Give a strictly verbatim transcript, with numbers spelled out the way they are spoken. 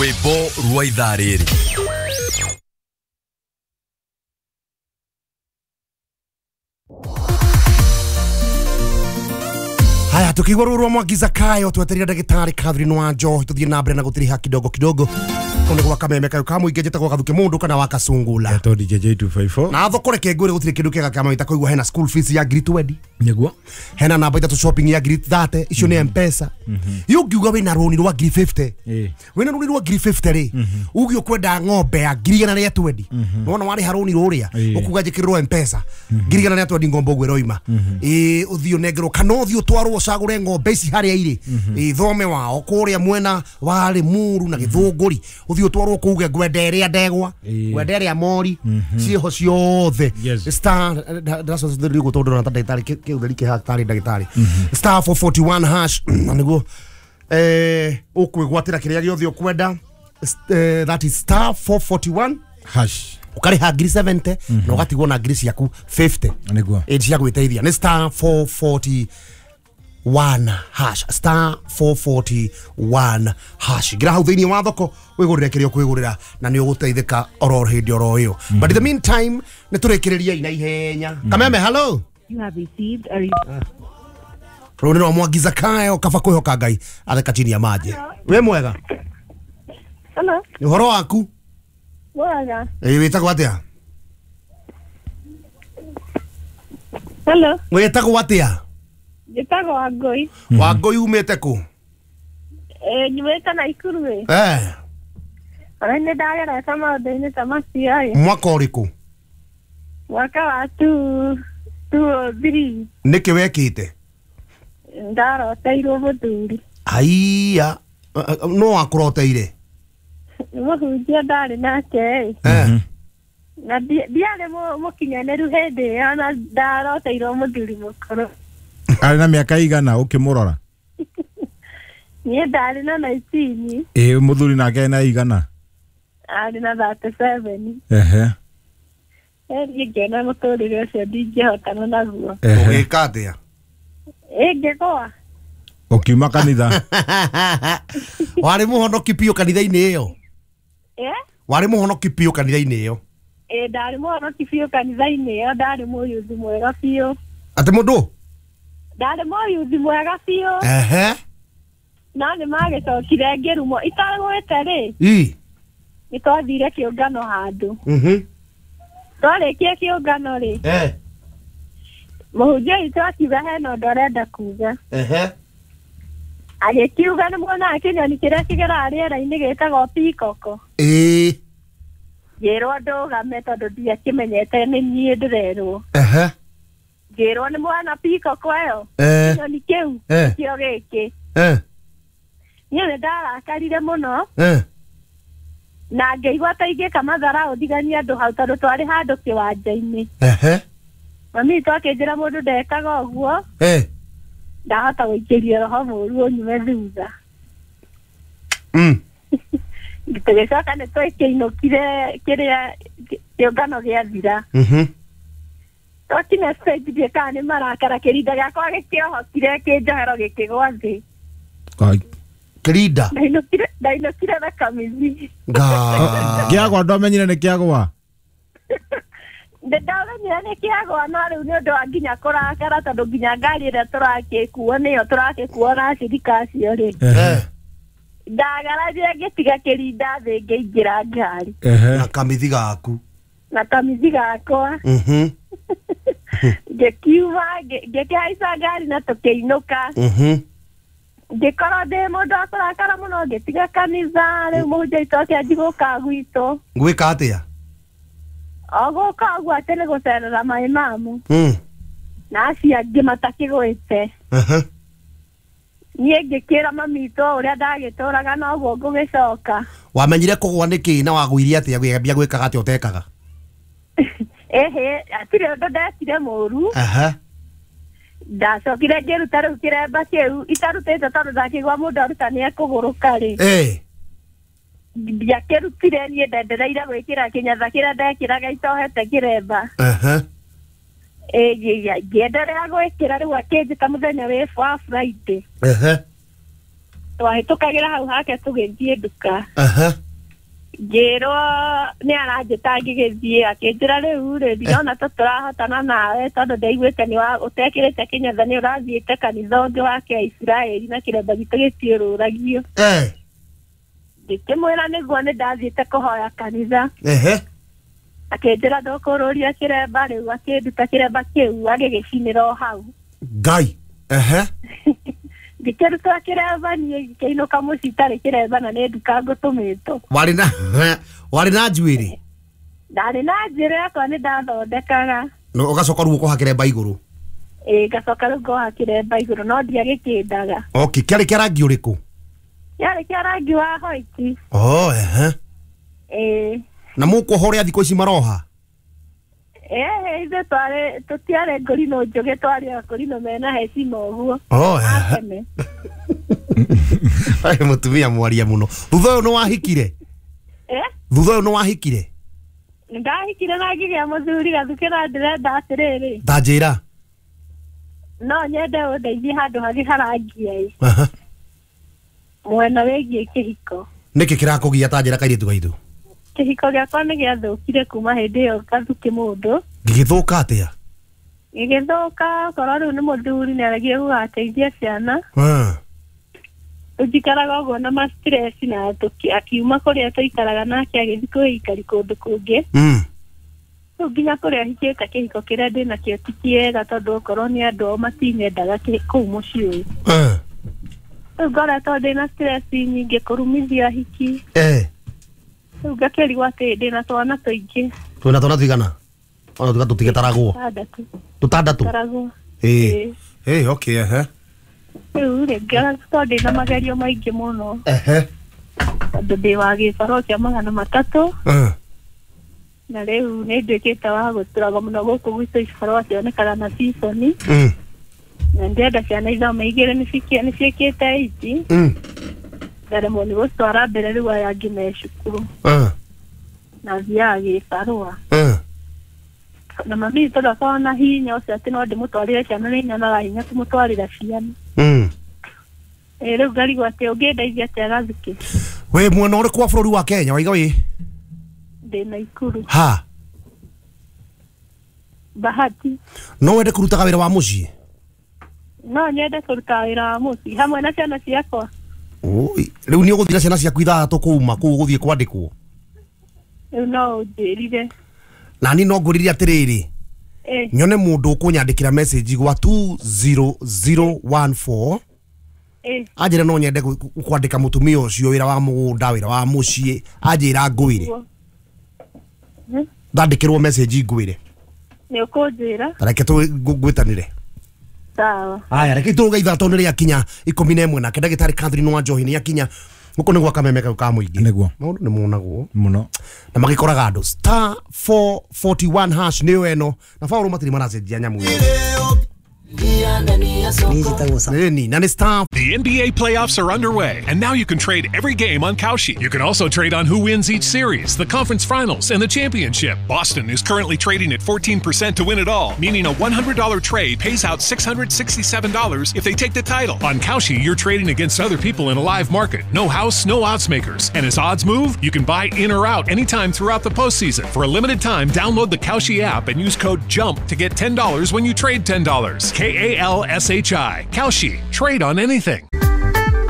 Rwĩmbo rwa ithaa rĩrĩ. Haya, tukigwa ruru Mwangi Zakayo twetereire ndagĩtarĩ Catherine Wanjohi tuthiĩ na mbere na gũtiriha kidogo kidogo kũndũ gwa kameme kayo ka mũingĩ njĩtagwo Gathuke Mũndũ kana wa Kasungula Eto D J J two five four na thoko reke ngwĩre gũtirĩ kĩndũ kĩega kĩa mawĩta kũigua hena school fees ya ngiri twenty nĩguo hena namba ithatũ shopping ya ngiri thirty icio nĩ M-Pesa mm-hmm. Yũngiuga wĩna rũni rwa ngiri fifty wĩna rũni rwa ngiri fifty rĩ uge ũkwenda ng'ombe ya ngiri igana rĩa twenty nĩwona warĩha rũni rũrĩa ũkuga njĩkĩrĩrwo M-Pesa ngiri igana rĩa twenty ng'ombe ũguo ĩroima ĩĩ ũthiĩ ũnengerwo kana ũthiĩ ũtwarwo ũcagũre ng'ombe ici harĩa irĩ ĩĩ thome wao kũrĩa mwena wa Limuru na Gĩthũngũri ũthiĩ ũtwarwo kũu uge ngwenda ĩrĩa ndegwa ngwenda ĩrĩa mori ciĩho ciothe star ndacocithĩrĩrio tondũ ndĩrona ta ndagĩtarĩ kĩũtheri kĩha tarĩ ndagĩtarĩ star four forty-one hash na nĩguo eh ũkwĩgwatĩra kĩrĩa gĩothe ũkwenda that is star four forty-one hash ũkarĩha ngiri seventy na ũgatigwo na ngiri ciaku fifty nĩguo ĩ cia gwĩteithia nĩ star four forty-one hash star four forty-one hash ngira hau thĩinĩ wa thoko wĩgũrĩre kĩrĩa ũkwĩgũrĩra na nĩ ũgũteithĩka oro hĩndĩ oro ĩyo but in the meantime nĩ tũrĩkĩrĩria na ihenya Kameme hello. You have received a Rũni rwa Mwangi Zakayo kaba kwĩhoka Ngai atheka chini ya maji. Wĩ mwega? Hello. Nĩ ũhoro waku? Mwega. Ĩ wĩtagwo atĩa? Hello. Wĩtagwo atĩa? Njĩtagwo Wangũi. Wangũi umĩte kũ? Eh, nyumĩte Naikuru ĩ. Eh. Ona nĩ ndagerete maũndũ-inĩ ta macio ĩ. Mwaka ũrĩkũ? Mwaka wa two two three. Nĩkĩ wekĩte? Ndaroteirwo mũthuri. Aiya, no wakũroteire? Nĩ mũhunjia ndarĩ nake ĩ. Eh. Na ndiarĩ mũkinyanĩru hĩndĩ ĩyo na ndaroteirwo mũthuri mũkũrũ. Arĩ na mĩaka igana ũkĩmũrora? Niĩ ndarĩ na nineteen. Ĩ mũthuri nake na igana? Arĩ na thirty-seven. Ehe. Niĩ ngĩona mũtũrĩre ũcio ndingĩhotana naguo. Ũgĩka atĩa? Ĩ ngĩgũa. Ũkiuma kanitha? Warĩ mũhonoki biũ kanitha-inĩ ĩyo? Eh? Warĩ mũhonoki biũ kanitha-inĩ ĩyo? Ĩ ndarĩ mũhonoki biũ kanitha-inĩ ĩyo, ndarĩ mũyuthi mwega biũ. Atĩ mũndũ? Ndarĩ mũyuthi mwega biũ. Ehe. No nĩ magĩcokire ngĩrumwo itagwĩte rĩ. Ĩ. Nĩ twathire kĩũngano handũ. Mhm. Twarĩkia kĩũngano rĩ. Eh. Mũhunjia witũ akiuga hena ũndũ arenda kuga. Ehe. Agĩkiuga nĩ muonaga kĩnyoni kĩrĩa kĩgeraga rĩera-inĩ gĩtagwo peacock. Ĩ. Ngĩrwo ndũgame tondũ ndiakĩmenyete nĩ niĩ ndĩrerwo. Ehe. Ngĩrwo nĩ mwana peacock ĩyo. Eh. Kĩnyoni kĩu kĩo gĩkĩ. Eh. Niĩ nĩ ndarakarire mũno. Eh. Na ngĩigua ta ingĩka matharaũ ndiganie andũ hau tondũ twarĩ handũ kĩwanja-inĩ. Ehe. Mami witũ akĩnjĩra mũndũ ndekaga ũguo. Eh. Ndahota gũikĩria roho mũũru ũnyume thutha. Mm. Tũgĩcoka nĩ twakĩinũkire kĩrĩa kĩũngano gĩathira. Mhm. Twakinya stage ndiĩ kana nĩ marakara kĩrinda gĩakwa gĩkĩohokire kĩnjohero gĩkĩgwa thĩ. Kai. Kĩrinda? Ndainũkire ndainũkire na kamithi. Nga. Kĩagwa ndwamenyire nĩ kĩagwa? Ndamenyire nĩ kĩagwa no rĩu nĩ ũndũ wa nginya kũrakara tondũ nginya ngari ĩrĩa tũrakĩkuo nĩyo tũrakĩkuo na acirika acio rĩ. Eh. Ndagararire ngĩtiga kĩrinda thĩ ngĩingĩra ngari. Ehe. Na kamithi gaku. Na kamithi gakwa. Mhm. Ngĩkiuma ngĩkĩhaica ngari na tũkĩinũka. Mhm. Ngĩkorwo ndĩ mũndũ wa kũrakara mũno ngĩtiga kanitha rĩu mũhunjia witũ akĩanjia gũka gwitũ. Gwĩka atĩa? O gũka ũguo atĩ nĩ gũcerera my mamu. Mm. Na acio angĩ matakĩgwĩte. Ehe. Niĩ ngĩkĩra mami witũ ũrĩa ndagĩtũraga noguo ngũgĩcoka. Wamenyire kũgũa nĩkĩ na wagũirie atĩa gwĩambia gwĩkaga atĩa ũtekaga? Ĩhĩ, hatirĩ ũndũ ndekire mũũru. Ehe. Ndacokire ngĩruta rĩu kĩremba kĩu itarutĩte tondũ ndakĩigua mũndũ aruta nĩ ekũgũrũka rĩ. Ĩ. Ndiakĩrutire niĩ ndendereire gwĩkĩra kĩnyatha kĩrĩa ndekĩraga itohete kĩremba. Ehe. Ĩ ngĩenderea gwĩkĩra rĩu akĩnjĩta mũthenya wĩ wa Friday. Ehe. Twahĩtũkagĩra hau hake tũgĩthiĩ nduka. Aha. Ngĩrwo nĩ aranjĩta ngĩgĩthiĩ akĩnjĩra rĩu rĩ ndirona ta tũrahotana nawe tondũ ndaiguĩte nĩ ũtekĩrĩte kĩnyatha nĩ ũrathiĩte kanitha ũngĩ wake Isiraeli na kĩremba gitũ gĩtiũrũragio. Eh. Ngĩkĩmwĩra nĩguo nĩ ndathiĩte kũhoya kanitha. Ehe. Akĩnjĩra ndũkũrũria kĩremba rĩu akĩnduta kĩremba kĩu agĩgĩcinĩra o hau. Ngai. Ehe. Ngĩkĩruta kĩremba niĩ ngĩkĩinũka mũciĩ itarĩ kĩremba na nĩ nduka ngũtũmĩtwo. Warĩ na warĩ na njuĩrĩ? Ndarĩ na njuĩrĩ yakwa nĩ ndathondekaga. No ũgacoka rĩu ũkoha kĩremba igũrũ? Ĩĩ ngacoka rĩu ngoha kĩremba igũrũ no ndiagĩkĩndaga. Okay, kĩarĩ kĩa rangi ũrĩkũ? Kĩarĩ kĩa rangi wa white. Oh, ehe. Ĩĩ. Na mũkuoha ũrĩa thikũ ici maroha? Eh, ithuĩ twarĩ tũtiarĩ ngũrinũ njũgĩ twarĩ akũrinũ mena hecima ũguo. Oh, ehe. Ai mũtumia mwaria mũno. Thutha ũyũ nĩ wahikire? Eh? Thutha ũyũ nĩ wahikire? Ndahikire na ngĩgĩa mũthuri gathukĩ na ndĩrenda atĩrĩrĩ. Ta njĩra. No nyende ũndeithie handũ hangĩ harangia ĩ. Aha. Mwena wĩgiĩ kĩhiko. Nĩkĩ kĩrakũgia ta njĩra kairĩtu gaitũ? Kĩhiko gĩakwa nĩ gĩathũkire kuma hĩndĩ ĩyo gathukĩ mũndũ. Gĩgĩthũka atĩa? Gĩgĩthũka okorwo rĩu nĩ mũthuri nĩ aregire gũgateithia ciana. Ah. Tũnjikaraga ũguo na ma stress na akiuma kũrĩa tũikaraga nake agĩthiĩ kwĩikari kũndũ kũngĩ. Mm. Rĩu nginya kũrĩa hikĩte kĩhiko kĩrĩa ndĩnakĩo ti kĩega tondũ okorwo nĩ andũ ao matinyendaga kũu mũciĩ ũyũ. Ah. Rĩu ngoretwo ndĩna stress nyingĩ kũrumithia hiki. Eh. Rĩu ngakĩrigwo atĩ ndĩna twana tũingĩ. Twĩna twana tũigana? Ona tuga tũtigĩtaragwo. Tũtandatũ. Tũtandatũ? Tũtaragwo. Ĩĩ. Ĩĩ, okay, ehe. Rĩu rĩ ngoretwo ndĩna magerio maingĩ mũno. Ehe. Tondũ ndĩ wa gĩbarũa kĩa magana matatũ. Eh. Na rĩu nĩ nduĩkĩte wa gũtũraga mũno gũkũ gwitũ ibarũa cionekaga na season. Mm. Na ndĩrenda ciana ithome igĩrĩ nĩ ciĩkĩte eight. Mm. Ndaremwo nĩ gũcitwara mbere rĩu aya angĩ me cukuru. Eh. Na thiaga gĩbarũa. Eh. Na mami tondũ akoragwo na hinya ũcio atĩ no ndĩmũtwarĩre ciana nĩ nyonaga hinya kũmũtwarĩra ciana. Mm. Ĩĩ rĩu ngarigwo atĩ ũngĩndeithia atĩa gathukĩ? Wĩ mwena ũrĩkũ wa bũrũri wa Kenya waiga wĩ? Ndĩ Naikuru. Ha? Bahati. No wende kũrutaga wĩra wa mũciĩ? No nyende kũruta wĩra wa mũciĩ hamwe na ciana ciakwa. Oi, rĩu nĩ ũgũthiĩ na ciana ciaku ithathatũ kũuma kũu ũgũthiĩ kwandĩkwo? Rĩu no ũnjĩrire. Na niĩ no ngũririe atĩrĩrĩ. Eh. Nyone mũndũ ũkũnyandĩkĩra message gwa two zero zero one four. Eh. Anjĩre no nyende kwandĩka mũtumia ũcio wĩra wa mũgũnda wĩra wa mũciĩ anjĩra ngwĩre. Ndandĩkĩrwo message ngwĩre. Nĩ ũkũnjĩra? Ta reke tũgwĩtanĩre. Sawa. Aya reke tũrũge ithatũ nĩ rĩakinya ikũmi na ĩmwe nake ndagĩtarĩ Catherine wa Njohi nĩ akinya gũkũ nĩ gwa kameme kau ka mũingĩ. Nĩguo. Maũndũ nĩ monagwo mũno. Na magĩkoraga andũ star four forty one hash nĩyo ĩno na Paul matirĩ maracenjia nyamũ ĩyo. The N B A playoffs are underway, and now you can trade every game on Kalshi. You can also trade on who wins each series, the conference finals, and the championship. Boston is currently trading at fourteen percent to win it all, meaning a one hundred dollar trade pays out six hundred sixty-seven dollars if they take the title. On Kalshi, you're trading against other people in a live market. No house, no odds makers. And as odds move, you can buy in or out anytime throughout the postseason. For a limited time, download the Kalshi app and use code JUMP to get ten dollars when you trade ten dollars. K A L S H I. Kalshi. Trade on anything.